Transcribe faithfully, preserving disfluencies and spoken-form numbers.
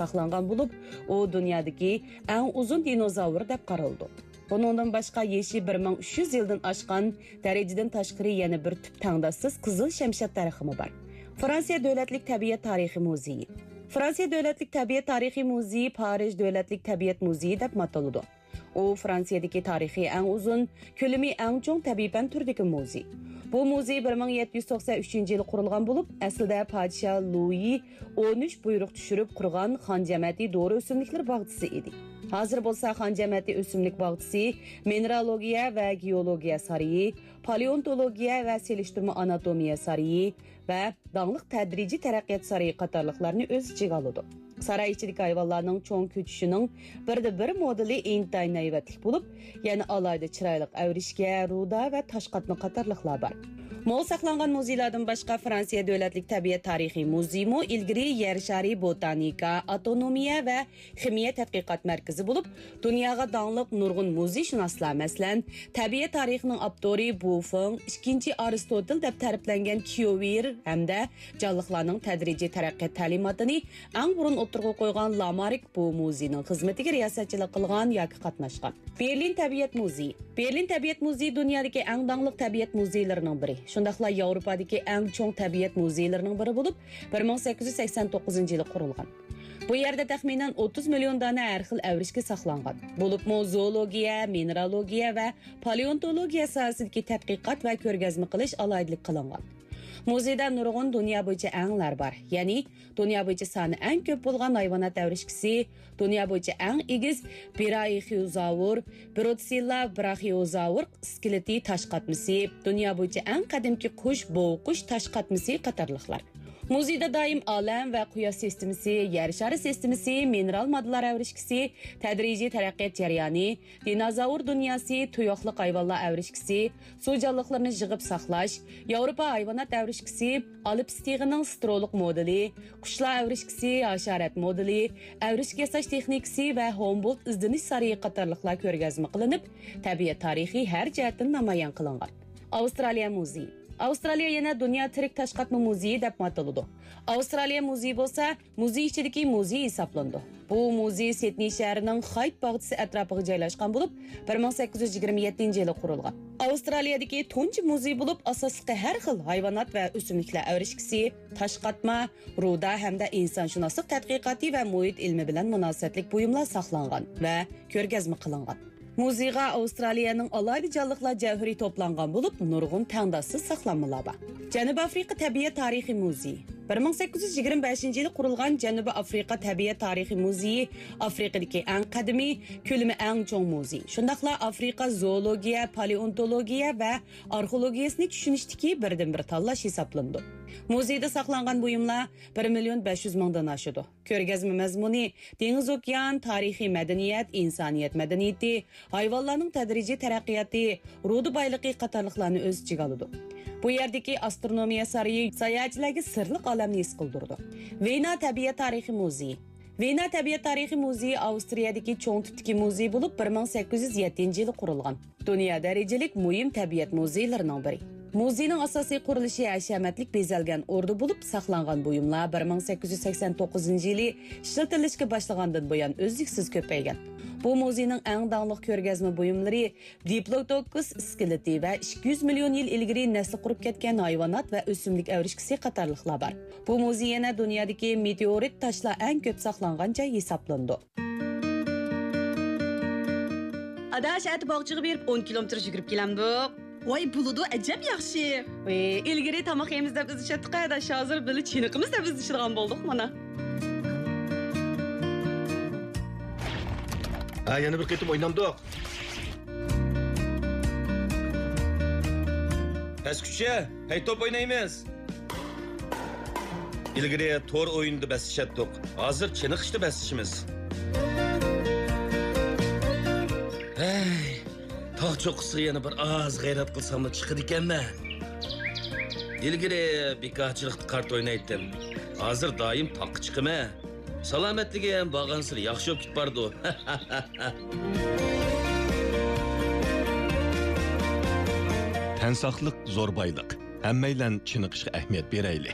ساقلانغان بولۇپ، ئۇ دۇنيادىكى ئەڭ ئۇزۇن دىنوزاۋر دەپ قارىلىدۇ. بۇنىڭدىن باشقا، يېشى بىر مىڭ ئۈچ يۈز يىلدىن ئاشقان، دەرىجىدىن تاشقىرى يەنە بىر تۈپ تەڭداشسىز قىزىل شەمشاد دەرىخىمۇ بار. فرانسىيە دۆلەتلىك تەبىئەت تارىخىي مۇزېيى. فرانسىيە دۆلەتلىك تەبىئەت تارىخىي مۇزېيى پارىژ دۆلەتلىك تەبىئەت مۇزېيى دەپمۇ ئاتىلىدۇ. ئۇ فرانسىيەدىكى تارىخى ئەڭ ئۇزۇن، كۆلىمى ئەڭ چوڭ تەبىئىي پەن تۈرىدىكى مۇزېي. بۇ مۇزېي بىر مىڭ يەتتە يۈز توقسەن ئۈچىنچى يىلى قۇرۇلغان بولۇپ، ئەسلىدە پادىشاھ لۇيى ئون ئۈچ بۇيرۇق چۈشۈرۈپ قۇرغان خان جەمەتى دورا ئۆسۈملۈكلىرى باغچىسى ئىدى. ھازىر بولسا خان جەمەتى ئۆسۈملۈك باغچىسى، مىنېرالوگىيە ۋە گېئولوگىيە سارىيى، پالېئونتولوگىيە ۋە سېلىشتۇرما ئاناتومىيە سارىيى ۋە داڭلىق تەدرىجىي تەرەققىيات سارىيى قاتارلىقلارنى ئۆز ئىچىگە ئالىدۇ. ساراي ئىچىدىكى ھايۋانلارنىڭ چوڭ كۆچۈشىنىڭ بىردىن بىر مودېلى ئىنتايىن ھەيۋەتلىك بولۇپ، يەنە ئالاھىدە چىرايلىق ئەۋرىشكە، رۇدا ۋە تاش قاتما قاتارلىقلار بار. مول ساقلانغان مۇزېيلاردىن باشقا، فرانسىيە دۆلەتلىك تەبىئەت تارىخىي مۇزېيىمۇ ئىلگىرى يەر شارى بوتانىكا، ئاتونومىيە ۋە خىمىيە تەتقىقات مەركىزى بولۇپ، دۇنياغا داڭلىق نۇرغۇن مۇزېيشۇناسلار، مەسىلەن، تەبىئەت تارىخىنىڭ ئاپتورى بۇ فېڭ، ئىككىنچى ئارستوتېل دەپ تەرىپلەنگەن كيوۋېر ھەمدە جانلىقلارنىڭ تەدرىجىي تەرەققىيات تەلىماتىنى ئەڭ بۇرۇن ئوتتۇرىغا قويغان لامارك بۇ مۇزېينىڭ خىزمىتىگە رىياسەتچىلىك قىلغان ياكى قاتناشقان. بېرلىن تەبىئەت مۇزېيى. بېرلىن تەبىئەت مۇزېيى دۇنيادىكى ئەڭ داڭلىق تەبىئەت مۇزېيلىرىنىڭ بىرى، شۇنداقلا ياۋروپادىكى ئەڭ چوڭ تەبىئەت مۇزېيلىرىنىڭ بىرى بولۇپ، بىر مىڭ سەككىز يۈز سەكسەن توققۇزىنچى يىلى قۇرۇلغان. بۇ يەردە تەخمىنەن ئوتتۇز مىليون دانە ھەر خىل ئەۋرىشكە ساقلانغان. بولۇپمۇ زوولوگىيە، مىنېرالوگىيە ۋە پالېئونتولوگىيە ساھەسىدىكى تەتقىقات ۋە كۆرگەزمە قىلىش ئالاھىدىلىك قىلىنغان. مۇزېيدا نۇرغۇن دۇنيا بويىچە ئەڭلەر بار، يەنى دۇنيا بويىچە سانى ئەڭ كۆپ بولغان ھايۋانات ئەۋرىشكىسى، دۇنيا بويىچە ئەڭ ئېگىز براخىئوزاۋر، بروتسىللا براخىئوزاۋر ئىسكىلېتى تاش قاتمىسى، دۇنيا بويىچە ئەڭ قەدىمكى قۇش، بوۋقۇش تاش قاتمىسى قاتارلىقلار. مۇزېيدا دائىم ئالەم ۋە قۇياش سىستېمىسى، يەر شارى سىستېمىسى، مىنېرال ماددىلار ئەۋرىشكىسى، تەدرىجىي تەرەققىيات جەريانى، دىنوزاۋر دۇنياسى، تۇياقلىق ھايۋانلار ئەۋرىشكىسى، سۇ جانلىقلىرىنى يىغىپ ساقلاش، ياۋروپا ھايۋانات ئەۋرىشكىسى، ئالپىس تېغىنىڭ سترولۇق مودېلى، قۇشلار ئەۋرىشكىسى، ھاشارات مودېلى، ئەۋرىشكە ياساش تېخنىكىسى ۋە ھومبولت ئىزدىنىش سارىيى قاتارلىقلار كۆرگەزمە قىلىنىپ، تەبىئەت تارىخى ھەر جەھەتتىن نامايان قىلىنغان. ئاۋسترالىيە مۇزېيى. ئاۋسترالىيە يەنە دۇنيا تىرىك تاش قاتما مۇزېيى دەپمۇ ئاتىلىدۇ. ئاۋسترالىيە مۇزېيى بولسا مۇزېي ئىچىدىكى مۇزېي ھېسابلىنىدۇ. بۇ مۇزېي سىدنېي شەھىرىنىڭ خايت باغچىسى ئەتراپىغا جايلاشقان بولۇپ، بىر مىڭ سەككىز يۈز يىگىرمە يەتتىنچى يىلى قۇرۇلغان. ئاۋسترالىيەدىكى تۇنجى مۇزېي بولۇپ، ئاساسلىقى ھەر خىل ھايۋانات ۋە ئۆسۈملۈكلەر ئەۋرىشكىسى، تاش قاتما، رۇدا ھەمدە ئىنسانشۇناسلىق تەتقىقاتى ۋە مۇھىت ئىلمى بىلەن مۇناسىۋەتلىك بۇيۇملار ساقلانغان ۋە كۆرگەزمە قىلىنغان. مۇزېيغا ئاۋسترالىيەنىڭ ئالاھىدە جانلىقلار جەۋھىرى توپلانغان بولۇپ، نۇرغۇن تەڭداشسىز ساقلانمىلار بار. جەنۇبىي ئافرىقا تەبىئەت تارىخىي مۇزېيى. بىر مىڭ سەككىز يۈز يىگىرمە بەشىنچى يىلى قۇرۇلغان جەنۇبىي ئافرىقا تەبىئەت تارىخىي مۇزېيى ئافرىقىدىكى ئەڭ قەدىمىي، كۆلىمى ئەڭ چوڭ مۇزېي، شۇنداقلا ئافرىقا زوولوگىيە، پالېئونتولوگىيە ۋە ئارخېئولوگىيەسىنى چۈشىنىشتىكى بىردىنبىر تاللاش ھېسابلىنىدۇ. مۇزېيدا ساقلانغان بۇيۇملار بىر مىليون بەش يۈز مىڭدىن ئاشىدۇ. كۆرگەزمە مەزمۇنى دېڭىز-ئوكيان، تارىخىي مەدەنىيەت، ئىنسانىيەت مەدەنىيىتى، ھايۋانلارنىڭ تەدرىجىي تەرەققىياتى، رۇدا بايلىقى قاتارلىقلارنى ئۆز ئىچىگە ئالىدۇ. بۇ يەردىكى ئاسترونومىيە سارىيى ساياھەتچىلەرگە سىرلىق ئالەمنى ھېس قىلدۇرىدۇ. ۋېنا تەبىئەت تارىخىي مۇزېيى. ۋېنا تەبىئەت تارىخىي مۇزېيى ئاۋسترىيەدىكى چوڭ تىپتىكى مۇزېي بولۇپ، بىر مىڭ سەككىز يۈز يەتتىنچى يىلى قۇرۇلغان. دۇنيا دەرىجىلىك مۇھىم تەبىئەت مۇزېيلىرىنىڭ بىرى. مۇزېينىڭ ئاساسىي قۇرۇلۇشى ھەشەمەتلىك بېزەلگەن ئوردا بولۇپ، ساقلانغان بۇيۇملار بىر مىڭ سەككىز يۈز سەكسەن توققۇزىنچى يىلى ئىشلىتىلىشكە باشلىغاندىن بۇيان ئۈزلۈكسىز كۆپەيگەن. بۇ مۇزېينىڭ ئەڭ داڭلىق كۆرگەزمە بۇيۇملىرى دىپلودوكۇس ئىسكىلىتى ۋە ئىككى يۈز مىليون يىل ئىلگىرى نەسلى قۇرۇپ كەتكەن ھايۋانات ۋە ئۆسۈملۈك ئەۋرىشكىسى قاتارلىقلار بار. بۇ مۇزېي يەنە دۇنيادىكى مېتېئورىت تاشلار ئەڭ كۆپ ساقلانغان جاي ھېسابلىنىدۇ. ئاداش، ئەتە باغچىغا بېرىپ ئون كىلومېتىر يۈگۈرۈپ كېلەمدۇق؟ ۋاي، بولىدۇ، ئەجەب ياخشى. ئى، ئىلگىرى تاماق يەيمىز دەپ ئىزدىشەتتۇق، ئاداش، ھازىر بىللە چېنىقىمىز دەپ ئىزدىشىدىغان بولدۇق مانا. ھە، يەنە بىر قېتىم ئوينامدۇق؟ پەسكۈچە، ھەي، توپ ئوينايمىز. ئىلگىرى تور ئويۇنىدا بەسلىشەتتۇق، ھازىر چېنىقىشتا بەسلىشىمىز. ھەي، تاغ چوققىسىغا يەنە بىر ئاز غەيرەت قىلساملا چىقىدىكەنمەن. ئىلگىرى بىكارچىلىقتا كارتا ئوينايتتىم، ھازىر دائىم تاغقا چىقىمەن. سالامەتلىكىم بارغانسېرى ياخشى بولۇپ كېتىپ بارىدۇ. تەن ساقلىق زور بايلىق. ھەممەيلەن چېنىقىشقا ئەھمىيەت بېرەيلى.